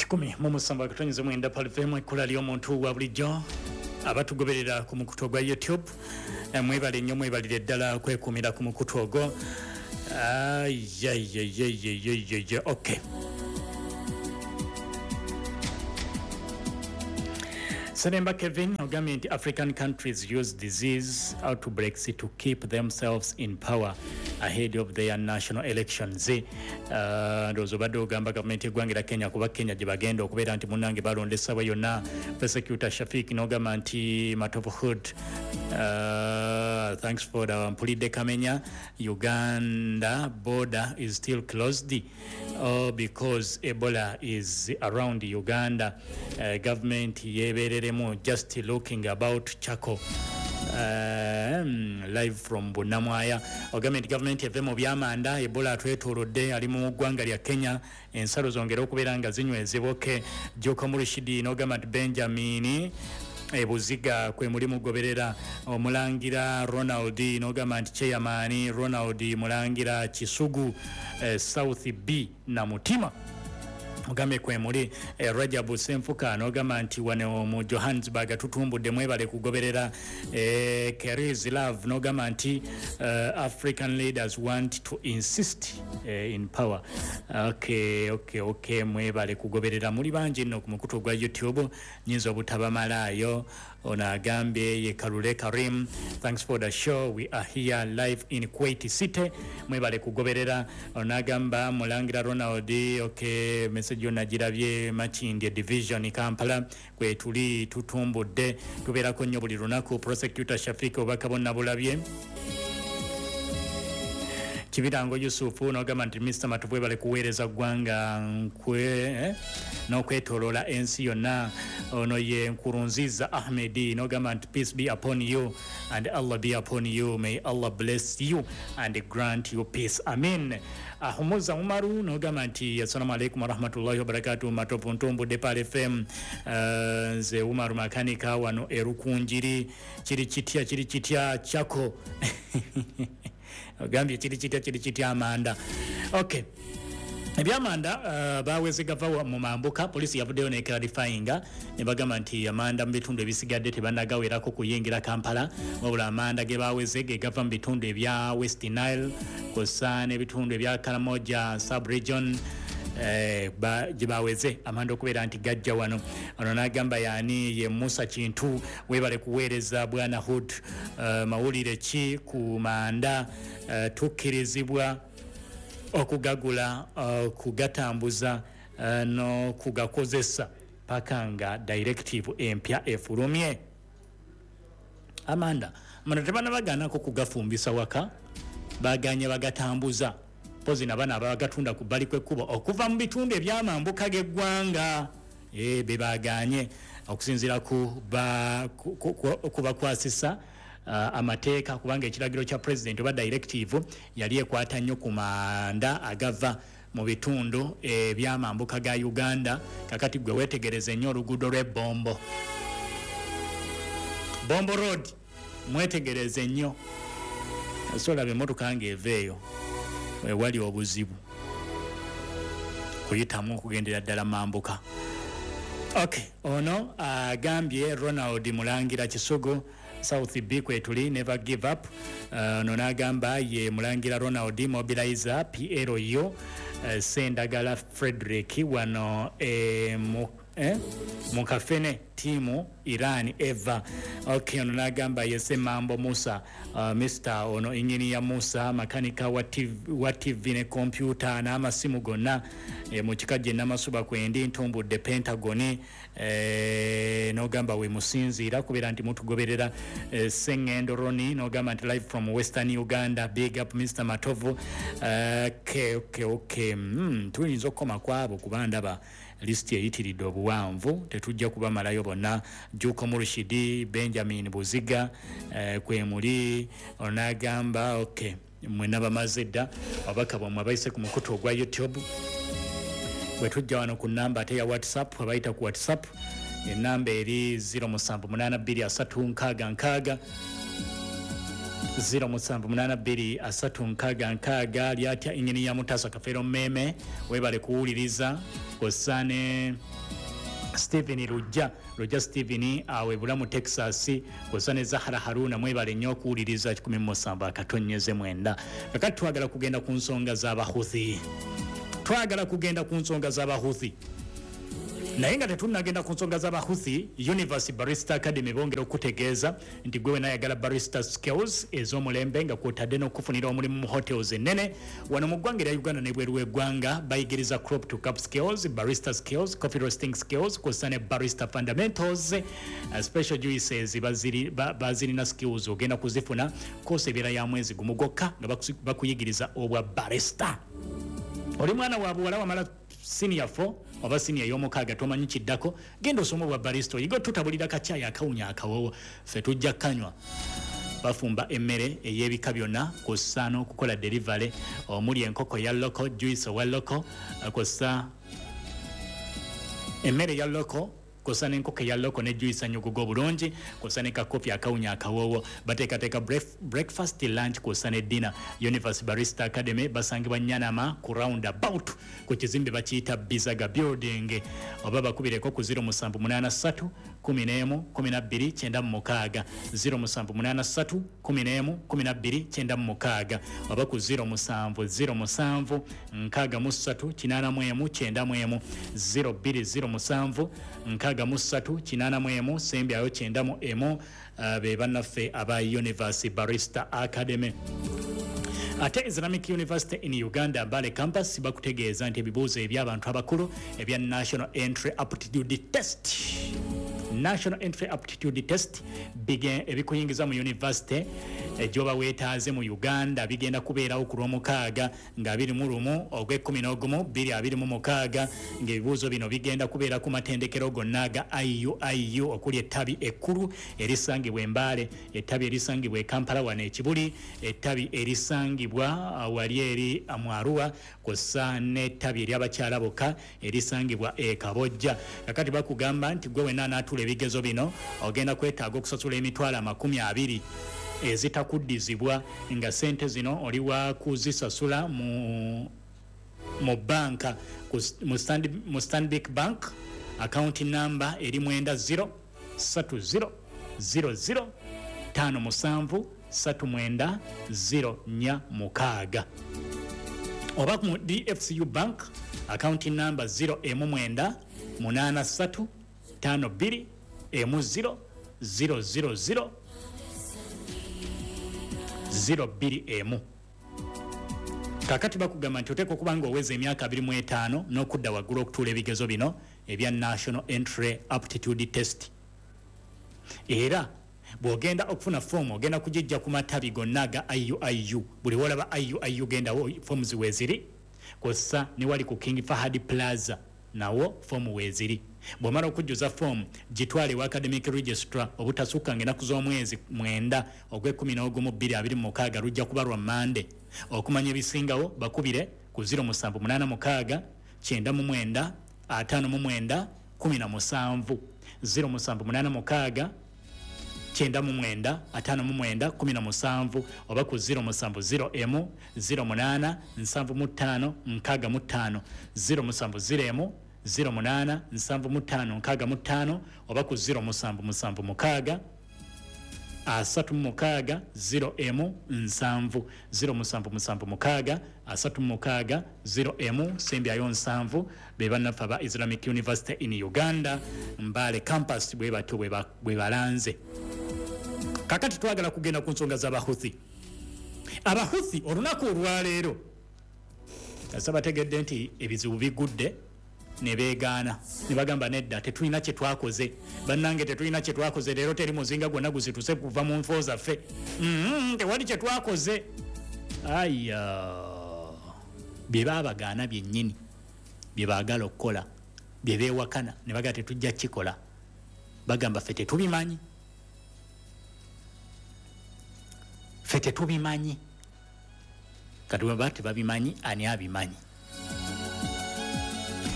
107.9 Pearl FM, ekkula ly'omuntu wa bulijjo. Abatugoberera ku mukutu ogwa YouTube, mwebale nnyo, mwebalire ddala kwekuumira ku mukutu ogwo. Ayayayayayayaya, okay. Seremba Kevin ogambye nti African countries use disease outbreaks to keep themselves in power ahead of their national elections. Ndowooza obadde ogamba gavumenti y'eggwanga erya Kenya, kuba Kenya gye bagenda okubeera nti munnange balonda essaawa yonna. Prosecutor Shafik n'ogamba nti Matovu Hood, thanks for the mpulidde Kamenya. Uganda border is still closed, oh, because Ebola is around Uganda. Government yebereremu just looking about Chaco. Live from Bunamwaya ogambye nti gavumenti eve mu byamanda, Ebola atwetoolodde, ali mu ggwanga lya Kenya, ensalo zongere okubeera nga zinywezebwa. Okay, Joko Murishidi n'ogamba nti Benjamin ebuziga kwe muli mugoberera. Omulangira Ronald n'ogamba nti chairman Ronald Mulangira Kisugu, South B na Mutima, ogambye kwe muli. Rajabu Senfuka n'ogamba nti wano mu Johannesburg tutumbudde, mwebale kugoberera. Keris Love n'ogamba nti African leaders want to insist in power. Okay, mwebale kugoberera, muli bangi nno ku mukutu ogwa YouTube, nyinza obutabamalaayo. Ono agambye ye Kalule Karim, thanks for the show, we are here live in Kuwait City, mwebale kugoberera. Ono agamba Mulangira Ronald, okay, message yonna girabye. Makindye Division, Kampala kwe tuli, tutumbudde, tubeerako nnyo buli lunaku. Prosecutor Shafik, obubaka bonna bulabye. Kibirango Yusufu nogamba nti Mr Matovu webale kuweereza ggwanga nkwe n'okwetoloola ensi yonna. Ono ye Nkurunziza Ahmedi nogamba nti peace be upon you and Allah be upon you, may Allah bless you and grant you peace, amin. Ahumuza Umaru nogamba nti assalamu alaikum warahmatullahi wabarakatuh, Matovu, ntumbudde Pearl FM. Nze Umaru makanika wano Erukunjiri. Kiri kitya, kiri kitya kyako? Ogambye kiri kitya, kiri kitya amanda? Okay, ebyamanda baweze gava mu mambuka. Poliisi yavuddeyo neclarifyinga ne bagamba nti amanda mu bitundu ebisigadde tebanagawerako kuyingira Kampala, wabula amanda ge baweze ge gava mu bitundu ebya West Nile kw'ossa n'ebitundu ebya Karamoja sub-region, gye baweze amanda okubeera nti gajja wano. Ono n'agamba yaani ye Musa Kintu, weebale kuweereza bwana Hood. Mawulire ki ku manda? Tukkirizibwa okugagula, kugatambuza, n'okugakozesa paka nga directive empya efulumye? Amanda tebanabagaanako kugafumbisa waka, baganye bagatambuza pozi nabana abagatunda ku bbali kw'ekkubo okuva mu bitundu ebyamambuka g'eggwanga, be baganye okusinziira ku bakwasisa amateeka, kubanga ekiragiro kya president oba directive yali ekwata nnyo ku manda agava mu bitundu ebyamambuka ga Uganda. Kakati gwe wetegereze nnyo oluguudo lw'ebbombo, Bombo Road, mwetegereze nnyo, solaba emmotoka ng'eva eyo, wewali obuzibu kuyitamu okugendera ddala mambuka. Okay, ono agambye Ronald Mulangira Kisugu, South B kwetuli, never give up. Ono n'agamba ye Mulangira Ronald, mobilizer PLU, Sendagala Frederick wano mukafene tiimu Iran eva. Okay, ono n'agamba yese Mambo Musa, Mr ono engineer Musa, makanika wa TV ne kompyuta n'amasimu gonna, mu kika gye Namasuba kwendi, ntumbudde Pentagon. N'ogamba we musinziira kubeera nti mutugoberera. Sengendo Roni n'ogamba nti live from Western Uganda, big up Mr Matovu. Okay, tuyinza okukoma kwabo kuba ndaba lisiti eyitiridde obuwanvu, tetujja kubamalayo bonna. Juko Murushidi, Benjamin Buziga, kwemuli. Onagamba okay, mwenna bamaze dda ababaka bwammwe abayise ku mukutu ogwa YouTube. Bwe tujja wano ku namba ate ya WhatsApp, abayita ku WhatsApp enamba eri 07823666, 07823666. Lyatya ingini ya Mutasa Kafeero Meme, webale kuwuliriza kw'ossa ne Stephen Lujja, Lujja Stephen awe Bulamu Texas, kwossa ne Zahara Haruna, mwebale nnyo okuwuliriza 107.9. Kakati twagala kugenda ku nsonga z'Abahuthi, twagala kugenda ku nsonga z'Abahuthi, naye nga tetunnagenda ku nsonga z'Abahuthi, Universe Barista Academy bongera okutegeeza nti gwe wenayagala barista skills ez'omulembe nga kwotadde n'okufunira omulimu mu hotels ennene wano mu ggwanga erya Uganda n'ebweru w'eggwanga, bayigiriza crop to cup skills, barista skills, coffee roasting skills, kw'ossa ne barista fundamentals, special juices bazirina skills ogenda kuzifuna. Course ebeera ya mwezi gumu gwokka nga bakuyigiriza obwa barista. Oli mwana wa buwala, wamala senior 4 oba senior y'omukaaga, tomanyi kiddako, genda osoma obwa barista, oyiga otutabulira kacyayi akawunya akawowo, ffe tujja kanywa. Bafumba emmere ey'ebika byonna kw'ossa n'okukola delivery, omuli enkoko ya local, juice owa local, kw'ossa emmere ya local, kw'ossa n'enkoko eya local ne juice anyuguga obulungi, kw'ossa ne kakofi akawunya akawoowo. Bateekateeka breakfast, lunch kw'ossa ne dinner. Universe Barista Academy basangibwa Nyanama ku roundabout, ku kizimbe bakiyita Bizaga Building, oba bakubireko ku 0783 11 12 96, 0783 11 12 96, oba ku 0707 63 81 91, 0207 63 81 sembyayo 91. Be bannaffe aba Universe Barista Academy. Ate Islamic University in Uganda Mbale Campus bakutegeeza nti ebibuuzo eby'abantu abakulu ebya National Entry Aptitude Test, National Entry Aptitude Test, ebikuyingiza mu university gyoba weetaaze mu Uganda bigenda kubeerawo ku Lwomukaaga nga 21 ogw'e-11 2026, ng'ebibuuzo bino bigenda kubeera ku matendekero gonna aga IUIU, okuli ettabi ekkulu erisangibwa Embaale, ettabi erisangibwa e Kampala wano Ekibuli, ettabi erisangibwa wali eri mu Arua, kw'ossa n'ettabi ery'abakyala bokka erisangibwa e Kabojja. Kakati bakugamba nti gwe wenna anaatuula ebigezo bino ogenda kwetaaga okusasula 20,000 ezitakuddizibwa, nga sente zino oli wa kuzisasula mu banka mu Stanbic Bank, account number eri 90 30 00 57 39 04 6, oba mu DFCU Bank, account number 0 emu 9 8 3 5 2 emu 0 0 0 0 0 2 emu. Kakati bakugamba nti oteekwa okuba nga oweza emyaka 25 n'okudda waggulu okutuula ebigezo bino ebya National Entry Aptitude Test. Era bw'ogenda okufuna foomu ogenda kugijja ku matabi gonna aga IUIU. Buli wolaba IUIU gendawo, foomu ziweeziri, kw'ossa ne wali ku King Fahad Plaza nawo foomu weeziri. Bw'omala okujjuza foomu, gitwale ewa academic registrar obutasukka ng'ennaku z'omwezi 9 ogw'e-11 2026, lujja kuba lwa Mande. Okumanya ebisingawo bakubire ku 0786 99 59 17, 0786 99 59 17, oba ku 0701 08 75 65, 0701 08 75 65, oba ku 0776 36 0 7, 0776 36 0 sembyayo 7. Be bannaffe aba Islamic University in Uganda Mbale Campus, bwe batyo bwe balanze. Kakati twagala kugenda ku nsonga z'Abahuthi. Abahuthi olunaku olwaleero kasa bategedde nti ebizibu bigudde, ne beegaana ne bagamba, "Nedda, tetulina kye twakoze. Bannange, tetulina kye twakoze. Leero teri muzinga gwonna guzituse kuva mu nfo zaffe. Tewali kye twakoze." Aya, bye baabagaana byennyini bye baagala okukola, bye beewakana ne bagaa tetujja kikola. Bagamba, "Ffe tetubimanyi, ffe tetubimanyi." Kati bwe tebabimanyi, ani abimanyi?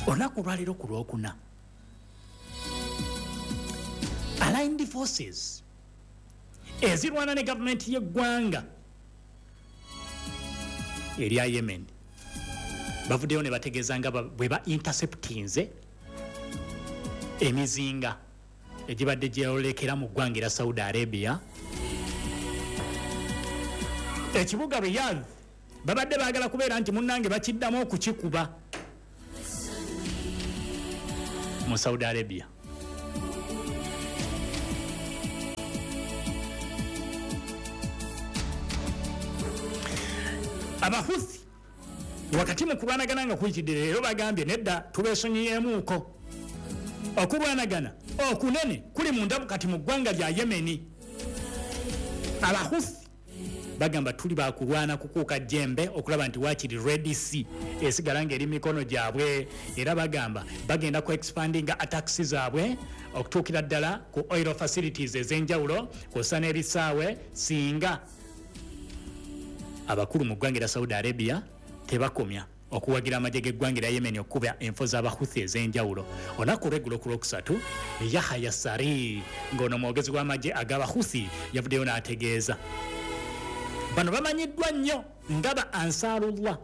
Olunaku olwaleero ku Lwokuna, aligned forces ezirwana ne gavumenti y'eggwanga erya Yemen bavuddeyo ne bategeeza nga bwe ba interceptinze Emizinga egibadde gyeyolekera mu ggwanga erya Saudi Arabia, ekibuga Riyadh babadde baagala kubeera nti munnange bakiddamu okukikuba mu Saudi Arabia. Abahuthi wakati mu kulwanagana nga kuyitidde leero bagambye nedda, tubeesonyiyeemuuko. Okulwanagana okunene kuli munda kati mu ggwanga lya Yemeni. Abahuthi bagamba tuli bakulwana kukuuka jjembe okulaba nti waakiri Red Sea esigala ng'eri mikono gyabwe, era bagamba bagenda ku expandinga attacks zaabwe okutuukira ddala ku oil facilities ez'enjawulo kw'ossa n'ebisaawe singa abakulu mu ggwanga erya Saudi Arabia tebakomya okuwagira amagye g'eggwanga erya Yemen okukuba enfo z'Abahuthi ez'enjawulo. Olunaku olw'eggulo ku Lwokusatu, Yahaya Sari ng'ono mwogezi w'amagye ag'Abahuthi yavuddeyo n'ategeeza bano bamanyiddwa nnyo nga ba Ansarullah,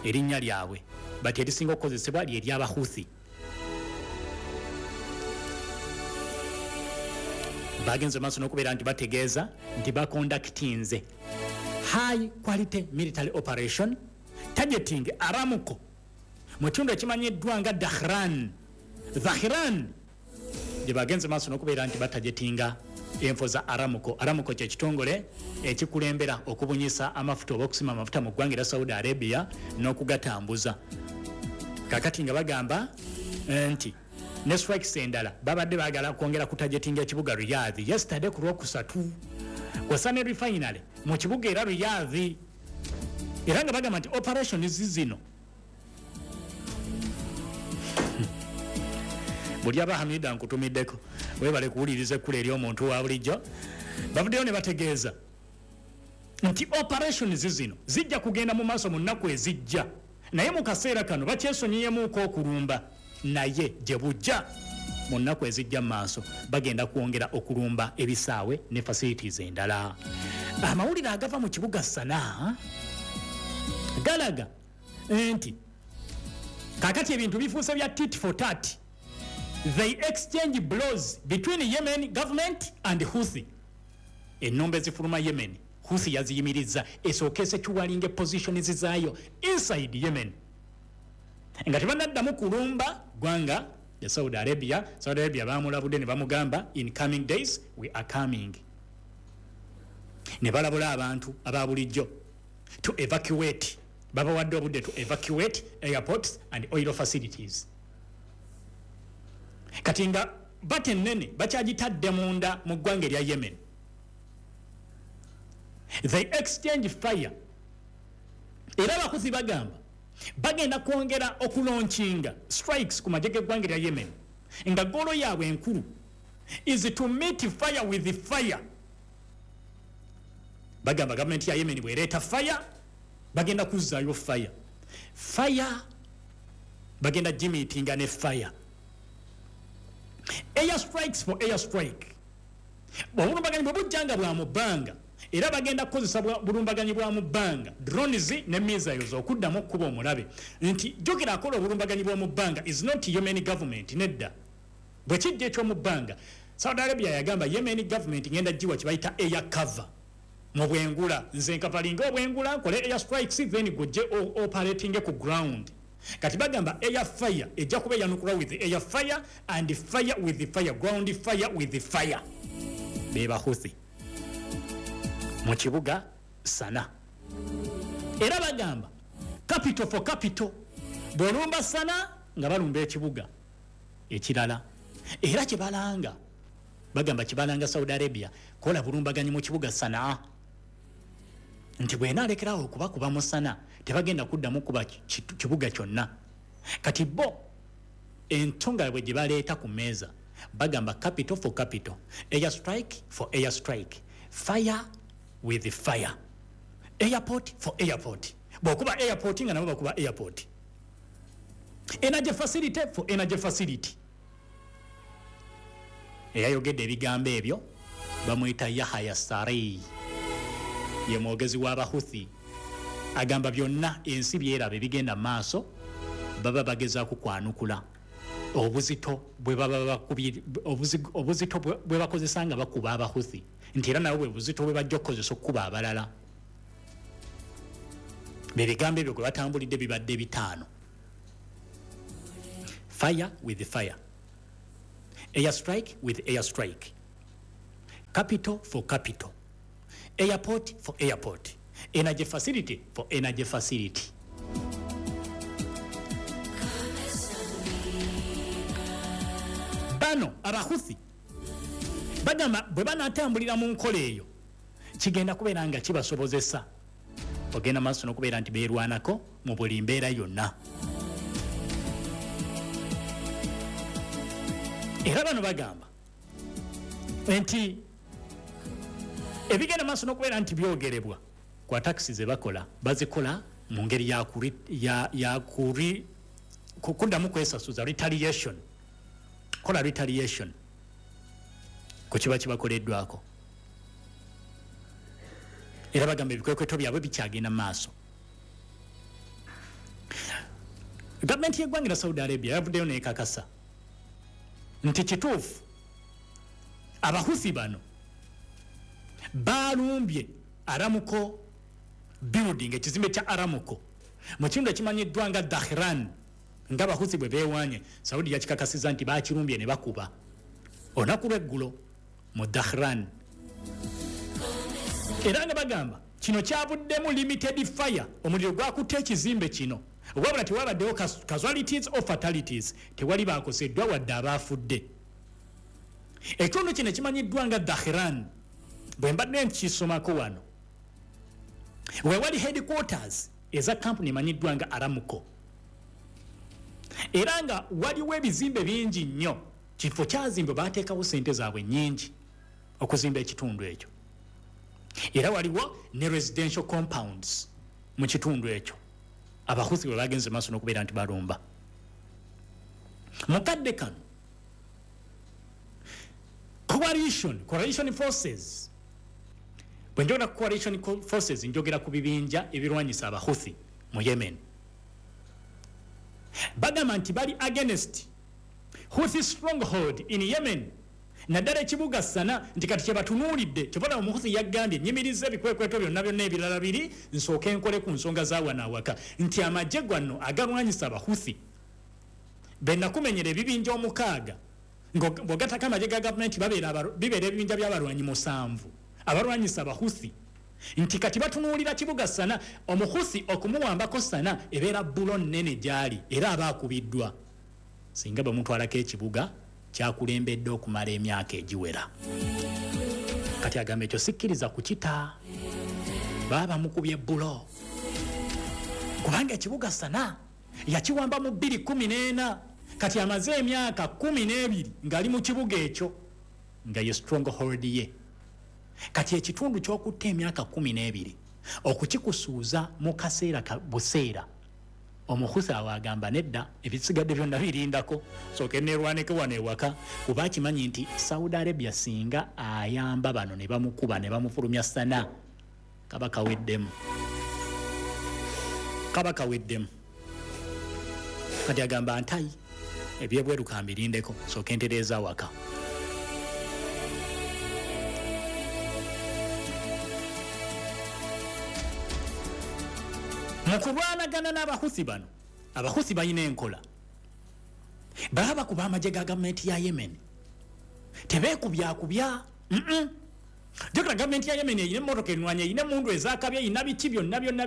erinnya lyabwe bati erisinga okukozesebwa lye ery'Abahuthi. Bagenze maaso n'okubeera nti bategeeza nti bakondakitinze high quality military operation targeting Aramco mu kitundu ekimanyiddwa nga Dhahran gye bagenze maaso n'okubeera nti batagetinga enfo za Aramco. Aramco kye kitongole ekikulembera okubunyisa amafuta oba okusima amafuta mu ggwanga erya Saudi Arabia n'okugatambuza. Kakati nga bagamba nti ne strikes endala babadde baagala kwongera kutagetinga ekibuga Riyadh yesterday ku Lwokusatu, kw'ossa ne refinery mu kibuga era Riyadh, era nga bagamba nti operations zino buli aba Hamida nkutumiddeko webale kuwuliriza ekkula ery'omuntu wa bulijjo. Bavuddeyo ne bategeeza nti operations zino zijja kugenda mu maaso mu nnaku ezijja, naye mu kaseera kano bakyesonyiyemuuko okulumba, naye gye bujja mu nnaku ezijja mu maaso bagenda kwongera okulumba ebisaawe ne facilities endala. Amawulire agava mu kibuga Sanaa galaga nti kakati ebintu bifuuse bya tit for tat. They exchange blows between Yemen government and Houthi. Ennumba ezifuluma Yemen, Houthi yaziyimiriza esooke securinge positions zaayo inside Yemen nga tebanaddamu kulumba ggwanga ya Saudi Arabia. Saudi Arabia bamulabudde ne bamugamba in coming days we are coming, ne balabula abantu aba bulijjo to evacuate, babawadde obudde to evacuate airports and oil facilities. Kati nga bate ennene bakyagitadde munda mu ggwanga erya Yemen. They exchange fire, era abakuzi bagamba bagenda kwongera okulaunchinga strikes ku magye g'eggwanga erya Yemen nga goal yaabwe enkulu is to meet fire with fire. Bagamba gavumenti ya Yemen bw'ereeta fire bagenda kuzzaayo fire, fire bagenda gimiitinga ne fire, air strikes for air strike. Obulumbaganyi bwe bujja nga bwa mu bbanga, era bagenda kukozesa bulumbaganyi bwa mu bbanga, drones ne missiles okuddamu okukuba omulabe. Nti jjukira akola obulumbaganyi bw'omu bbanga is not Yemen government, nedda. Bwe kijja eky'omu bbanga, Saudi Arabia yagamba Yemen government ngenda giwa kye bayita air cover mu bwengula, nze nkavalinga obwengula nkole air strikes then gujje operating ku ground. Kati bagamba air fire ejja kuba eyanukula with air fire and fire with fire, ground fire with fire. Be Bahuthi mu kibuga Sana, era bagamba capital for capital, bw'olumba Sana nga balumba ekibuga ekirala. Era kyebalanga bagamba kibalanga Saudi Arabia kola bulumbaganyi mu kibuga Sanaa, nti bw'enaalekerawo okubakuba mu Sana tebagenda kuddamu kuba kibuga kyonna. Kati bo ensonga bwe gye baleeta ku mmeeza bagamba capital for capital, air strike for air strike, fire with fire, airport for airport. Bw'okuba airport nga nabo bakuba airport, energy facility for energy facility. Eyayogedde ebigambo ebyo bamuyita Yahaya Sarei, ye mwogezi w'Abahuthi. Agamba byonna ensi byeraba ebigenda maaso baba bagezaako kwanukula. Obuzito bwe baba bakubye, obuzito bwe bakozesa nga bakuba Abahuthi, nti era nabo bwe buzito bwe bajja okukozesa okukuba abalala. Bebigambo ebyo gwe batambulidde bibadde 5. Fire with fire, air strike with air strike, capital for capital, airport for airport, energy facility for energy facility. Bano Abahuthi bagamba bwe banatambulira mu nkola eyo kigenda kubeera nga kibasobozesa ogenda maaso n'okubeera nti beerwanako mu buli mbeera yonna. Era bano bagamba nti ebigenda maaso n'okubeera nti byogerebwa ku attacks ze bakola bazikola mu ngeri kuddamu kwesasuza, retaliation, kola retaliation ku kiba kibakoleddwako. Era bagamba ebikwekweto byabwe bikyagenda maaso. Gavumenti y'eggwanga lya Saudi Arabia yavuddeyo n'ekakasa nti kituufu Abahuthi bano balumbye Aramco building, ekizimbe kya Aramco mu kitundu ekimanyiddwa nga Dahran, nga Abahuthi bwe beewanye. Saudi yakikakasizza nti bakirumbye ne bakuba olunaku lw'eggulo mu Dahran. Era nga bagamba kino kyavuddemu limited fire, omuliro gwakutte ekizimbe kino, wabula tewabaddewo casualties or fatalities, tewali bakoseddwa wadde abaafudde. Ekitundu kino ekimanyiddwa nga Dahran, bwe mbadde nkisomako wano, we wali headquarters eza kampuni emanyiddwa nga Aramco, era nga waliwo ebizimbe bingi nnyo. Kifo kyazimbwe baateekawo ssente zaabwe nnyingi okuzimba ekitundu ekyo, era waliwo ne residential compounds mu kitundu ekyo Abahuthi bwe bagenze maaso n'okubeera nti balumba. Mu kadde kano coalition forces, bwe njogera ku coalition forces njogera ku bibinja ebirwanyisa Abahuthi mu Yemen, bagamba nti bali against Houthi stronghold in Yemen, naddala ekibuga Sana, nti kati kyebatunuulidde. Kyebona Omuhuthi yagambye nyimiriza ebikwekweto byonna byonna ebirala biri nsooke nkole ku nsonga za wano awaka, nti amagye gwanno agalwanyisa Abahuthi benakumenyera ebibinja 6, bw'ogattako amagye ga gavumenti bibeera ebibinja by'abalwanyi 7 abalwanyisa Abahuthi, nti kati batunuulira kibuga Sana. Omuhuthi okumuwambako Sana ebeera bbulo nnene gy'ali, era aba akubiddwa singa bamutwalako ekibuga kyakulembedde okumala emyaka egiwera. Kati agamba ekyo sikkiriza kukita, baba bamukubye bbulo, kubanga ekibuga Sana yakiwamba mu 2014, kati amaze emyaka 12 ng'ali mu kibuga ekyo nga ye stronghold ye. Kati ekitundu ky'okutta emyaka 12 okukikusuuza mu kaseera buseera, Omuhuthi awo agamba nedda, ebisigadde byonna birindako, sooke neerwaneko wano ewaka, kuba akimanyi nti Saudi Arabia singa ayamba bano ne bamukuba ne bamufulumya Sana, kaba kaweddemu, kaba kaweddemu. Kati agamba ntayi ebyebweru kambirindeko, sooke ntereeza awaka. Mu kulwanagana n'Abahuthi bano, Abahuthi balina enkola, baba bakuba amagye ga gavumenti ya Yemen, tebeekubyakubya. Jjukira gavumenti ya Yemen erina emmotoka ennwanyi, erina emmundu ezakabye, erina biki byonna byonna.